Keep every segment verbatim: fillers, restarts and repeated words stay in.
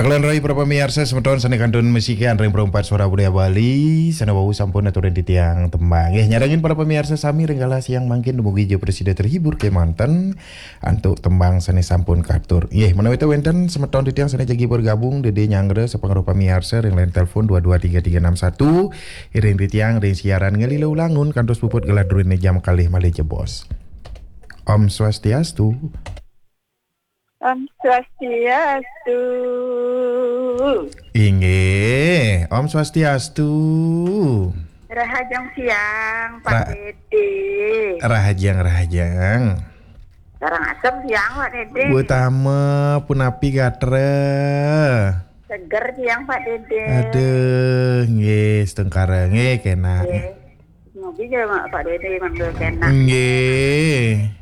Kalian rai para pamiarsa semeton sane kantun masikian ring Perempat Suara Budaya Bali, sane wau sampun aturin titiang tembang. Nggih, nyarengin para pamiarsa sami ring galah siang mangkin dumugi ja prasida terhibur kemanten antuk tembang sane sampun katur. Nggih, menawi wenten semeton titiang sane jagi bergabung, Dede nyanggra sapangrauh pamiarsa ring line telepon dua dua tiga tiga enam satu, iring titiang ring siaran ngalila ulangun kantos puput galah druene jam kalih malih jebos. Om Swastiastu. Om Swastiastu. Inggih, Om Swastiastu. Rahajeng siang, Pak Ra- Dede. Rahajeng, rahajeng. Karangasem siang, Pak Dede. Utama punapi gatra. Seger siang, Pak Dede. Aduh, nggih, setengkara nggih kena. Nggih. Ngopi aja, Mak, Pak Dede, manggil kena. Nggih.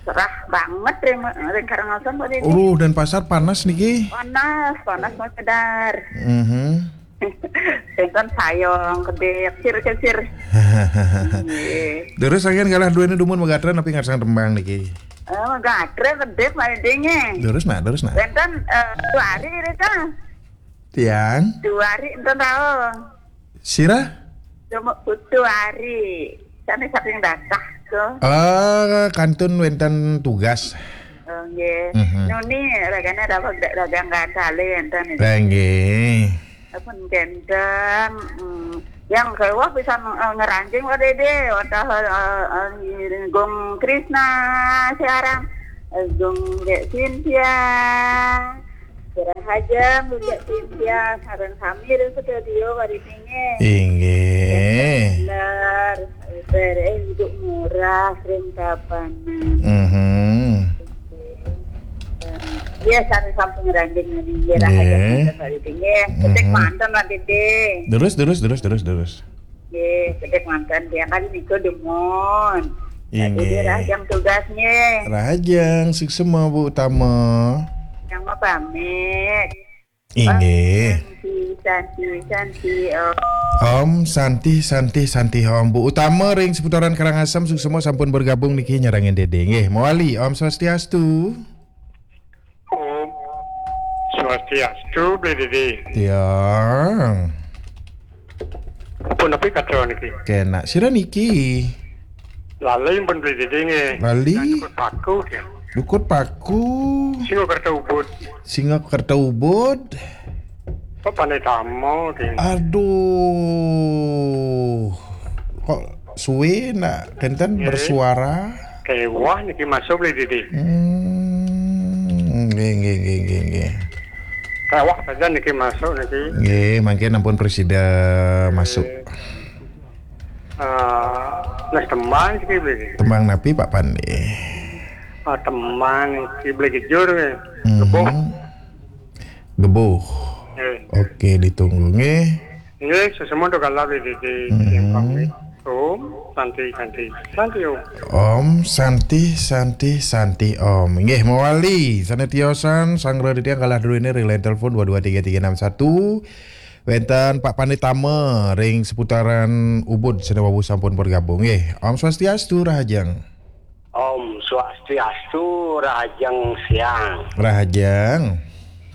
Cerah banget ring, ring Karangasem, Pak Dede. Uruh, Denpasar panas niki. Panas, panas mau cedar. Mhm. Tenten sayong, kedek, cir, cir. Nggih. Terus agen galah druene dumun magatra napi ngarsang tembang niki? Eh, magatra kedek, Pak Dede, nggih. Terus, Nak, terus, Nak. Tenten, eh, dua hari, Rita. Tiang? Dua hari, enten tahu. Sira? Cuma butuh hari. Sane saking datah ke. Eh, kantun wenten tugas. Oh, nggih. Mhm. Nuni ragane dapat dagang gandale enten. Lah, nggih. Pun kenten, mm, yang kewa bisa, eh, ngeranjing Pak Dede, wadah, eh, eh, Gung Krisna siaran, eh, Gung Dek Cynthia. Rahajeng, Bujak Cynthia, sareng sami ring studio, Pak Dede, nggih. Inggih. Bener, beres hidup murah, ring Tabanan. Mhm. Iya, sareng sampun ngeranjing niki, nggih, rahajeng, nggih, Pak Dede, nggih. Cedek manten, Pak Dede. Terus, terus, terus, terus, terus. Nggih, cedek manten, tiang kali niku dumun. Pak Dede, inggih. Rahajeng tugas, nggih. Rahajeng, suksema, Bu Utama. Yang mau pamit. Inggih. Santi, Santi, Santi, Om. Om Santi, Santi, Santi, Om. Bu Utama ring seputaran Karangasem, suksema sampun bergabung niki nyarengin Dede. Nggih, mawali. Om Swastiastu. Om Swastiastu, Bli Dede. Tiang. Punapi katra niki? Kena. Sira niki? Lali pun Bli Dede nggih. Lali? Dukut Paku, nggih. Dukut Paku. Singakerta Ubud. Singakerta Ubud. Pak Panditama, nggih. Aduh. Kok suwe nak kenten, nggih, bersuara? Kewah niki masuk, Bli Dede. Hmm, nggih, nggih, nggih, nggih, nggih. Kewah saja niki masuk niki. Nggih, mangkin ampun prasida masuk. Eh, nah, tembang niki, Bli. Tembang napi, Pak Pande? Ah, tembang niki, Bli Gejur, nggih. Mhm. Gebuh. Gebuh. Nggih. Oke, ditunggu, nggih. Nggih, suksema antuk galah, Bli Dede. Mhm. Pamit. Om Santi, Santi, Santi, Om. Om Santi, Santi, Santi, Om. Nggih, mawali sane tiosan, sanggra titiang galah druene ring line telepon dua dua tiga tiga enam satu. Wenten Pak Panditama ring seputaran Ubud sane wau sampun bergabung, nggih. Om Swastiastu, rahajeng. Om Swastiastu, rahajeng siang. Rahajeng.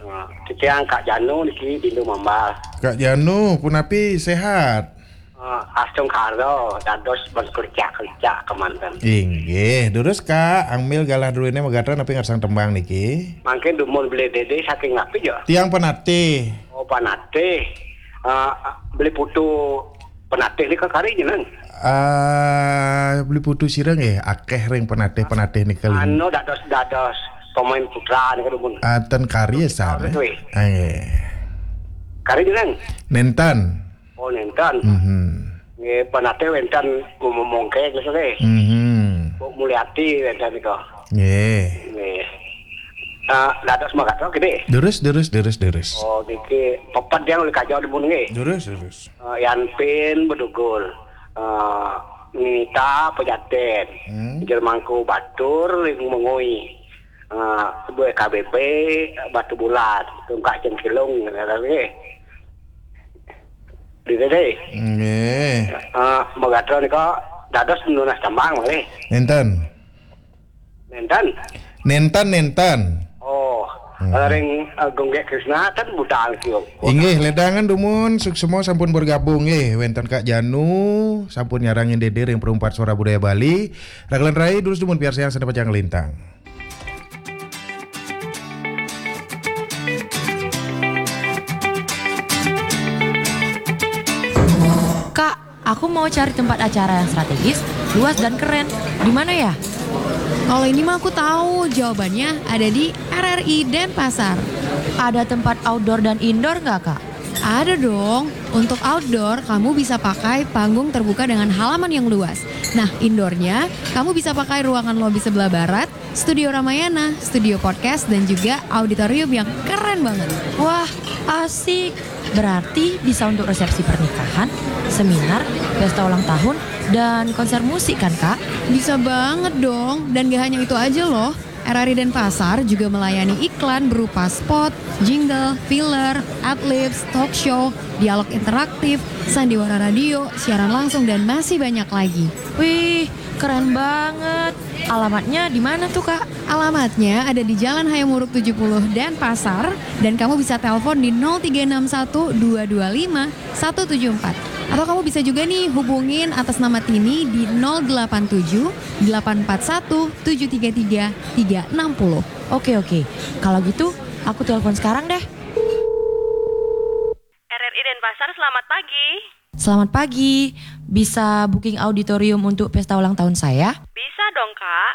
Nah, titiang Kak Janu niki, Bindu Mambal. Kak Janu, punapi, sehat? Eh, astungkara, dados berkerja-kerja kemanten. Inggih, durus, Kak, angmil galah druene magatra napi ngarsang tembang niki? Mangkin dumun Beli Dede saking napi, ya? Tiang Penatih. Oh, Penatih. Eh, Beli Putu Penatih nika kari jenengan? Ah, Beli Putu sira nggih, akeh ring Penatih-Penatih nika lin- Anu dados, dados pemain putra nika dumun. Ah, ten kari ya, Putu sami. Taurus, weh. Ah, nggih. Kari jenengan? Nenten. Oh, nenten. Mhm. Nggih, Penatih wenten Bu Momongke, nggih, nggih. Mhm. Bu Mulyati wenten nika. Nggih. Nggih. Eh, dados magatra, nggih? Durus, durus, durus, durus. Oh, niki peped yang oleh kaja dumun, nggih. Durus, durus. Eh, Yan Pin Bedugul. Eh, Nita Pejaten. Hmm. Jer Mangku Batur, Ling Mengui. Eh, Ibu E K B P, Batu Bulan. Tungkak Cengkilung, nggih. Di Dede. Nggih. Eh, magatra nika dados nunas tembang malih. Nenten. Nenten? Nenten, nenten. Oh. Ring, eh, Gunggek Krisna kan budal kio. Inggih, ledangan dumun, suksma sampun bergabung nggih. Wenten Kak Janu, sampun nyarengin Dede ring Perumpat Suara Budaya Bali. Rakelan rai, durus dumun piarsayang sane pacang nglintang. Kak, aku mau cari tempat acara yang strategis, luas dan keren. Di mana ya? Kalau ini mah aku tahu, jawabannya ada di R R I Denpasar. Ada tempat outdoor dan indoor nggak, Kak? Ada dong. Untuk outdoor, kamu bisa pakai panggung terbuka dengan halaman yang luas. Nah, indoornya, kamu bisa pakai ruangan lobi sebelah barat, studio Ramayana, studio podcast, dan juga auditorium yang keren banget. Wah, asik. Berarti bisa untuk resepsi pernikahan, seminar, pesta ulang tahun, dan konser musik kan, Kak? Bisa banget dong. Dan gak hanya itu aja loh. R R I Denpasar juga melayani iklan berupa spot, jingle, filler, adlibs, talk show, dialog interaktif, sandiwara radio, siaran langsung, dan masih banyak lagi. Wih, keren banget. Alamatnya di mana tuh, Kak? Alamatnya ada di Jalan Hayam Wuruk tujuh puluh Denpasar, dan kamu bisa telepon di nol tiga enam satu dua dua lima satu tujuh empat. Atau kamu bisa juga nih hubungin atas nama Tini di nol delapan tujuh delapan empat satu tujuh tiga tiga tiga enam nol. Oke, oke. Kalau gitu, aku telepon sekarang deh. R R I Denpasar, selamat pagi. Selamat pagi. Bisa booking auditorium untuk pesta ulang tahun saya? Bisa dong, Kak.